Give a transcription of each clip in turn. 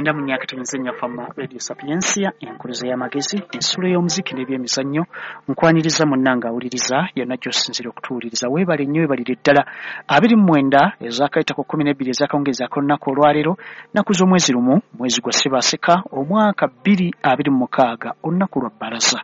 94.4 Fama Radio Sapiensia, enkuluze y'amagezi, ensulo y'omuziki n'ebyemizannyo. Nkwaniriza munnange awuliriza yonna gy'osinziira okutuwuliriza. Weebale nnyo, weebalire ddala. 29 ezakayitako 12 ezakawungeezi ak'olunaku olwaleero, nnaku z'omwezi 1, mwezi gwa Ssebaaseka, omwaka 2026, olunaku lwa bbalaza.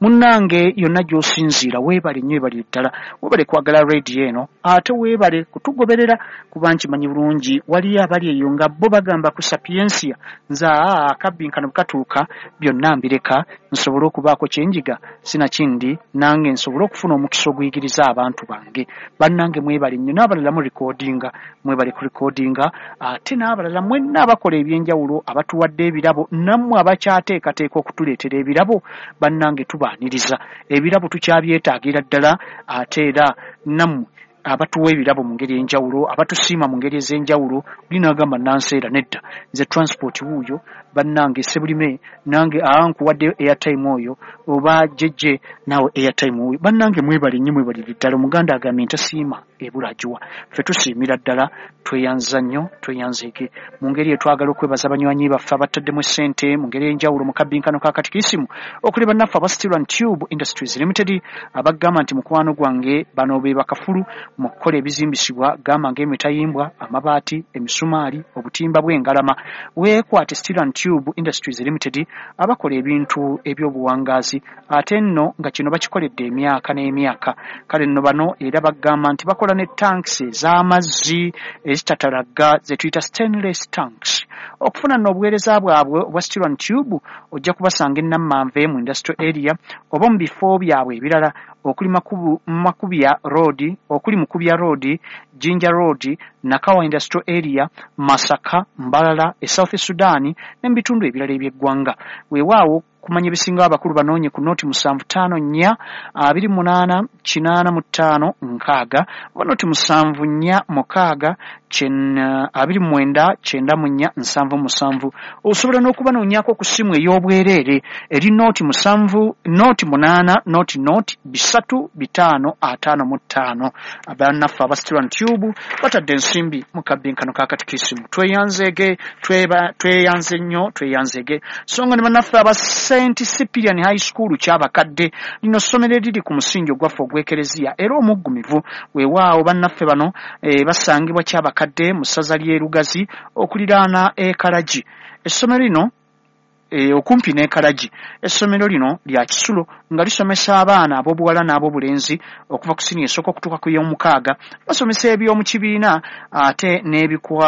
Munnange yonna gy'osinziira weebale nnyo, weebalire ddala. Weebale kwagala radio eno, ate weebale kutugoberera kuba nkimanyi bulungi waliyo abali eyo nga bo bagamba ku Sapiensia, nze akabbinkano bwe katuuka byonna mbireka nsobole okubaako kye njiga, sinakindi nange nsobole okufuna omukisa oguyigiriza abantu bange. Bannange mwebale nnyo, n'abalala mu recordinga, mwebale ku recordinga, ate n'abalala mwenna abakola ebyenjawulo, abatuwadde ebirabo, nammwe abakyateekateeka okutuleetera ebirabo, bannange tubaaniriza. Ebirabo tukyabyetaagira ddala, ate era nammwe abatuwa ebirabo mu ngeri enjawulo, abatusiima mu ngeri ez'enjawulo. Oli n'agamba nanseera nedda, nze transport wuuyo, bannange sebulime nange nkuwaddeyo airtime oyo, oba jjejje naawe airtime wuuyo. Bannange mwebale nnyo, mwebalire ddala. Omuganda agambye ntasiima ebula agiwa. Ffe tusiimira ddala, tweyanza nnyo, tweyanzeege. Mu ngeri eyo twagala okwebaza abanywanyi baffe abataddemu essente mu ngeri ey'enjawulo mu kabbinkano ka katikisimu, okuli bannaffe aba Steel and Tube Industries Limited, abagamba nti mukwano gwange bano be bakafulu mu kukola ebizimbisibwa, gamba ng'emitayimbwa, amabaati, emisumaali, obutimba bw'engalama. Weekwate Steel and Tube Industries Limited abakola ebintu ebyobuwangaazi, ate nno nga kino bakikoledde emyaka n'emyaka. Kale nno bano era bagamba nti bakola ne tanks ez'amazzi ezitatalagga ze tuyita stainless tanks. Okufuna nno obuweereza bwabwe obwa Steel and Tube ojja kubasanga e Nammanve mu industrial area oba mu bifo byabwe ebirala okuli Makubya Road, okuli Mukubya Road, Jinja Road, Nakawa Industrial Area, Masaka, Mbalala, e South Sudan ne mu bitundu ebirala eby'eggwanga. Weewaawo kumanya ebisingawo abakulu banoonye ku noti 754 28 85 6 oba noti 746 29 94 77. Osobola n'okubanoonyaako ku ssimu ey'obwereere eri noti 7 noti 8 noti noti 3 5 55. Abannaffe aba Steel and Tube batadde ensimbi mu kabbinkano ka katikisimu. Tweyanzeege, tweyanze nnyo, tweyanzeege. So nga ne bannaffe aba St Cyprian High School Kyabakadde, lino ssomero eriri ku musingi ogwaffe ogw'ekereziya era omuggumivu. Weewaawo bannaffe bano basangibwa Kyabakadde mu ssaza ly'e Lugazi okuliraana e Kalagi. Essomero lino okumpi n'e Kalagi. Essomero lino lya kisulo nga lisomesa abaana ab'obuwala n'ab'obulenzi okuva ku siniya esooka okutuuka ku y'omukaaga. Basomesa eby'omu kibiina ate n'ebikwa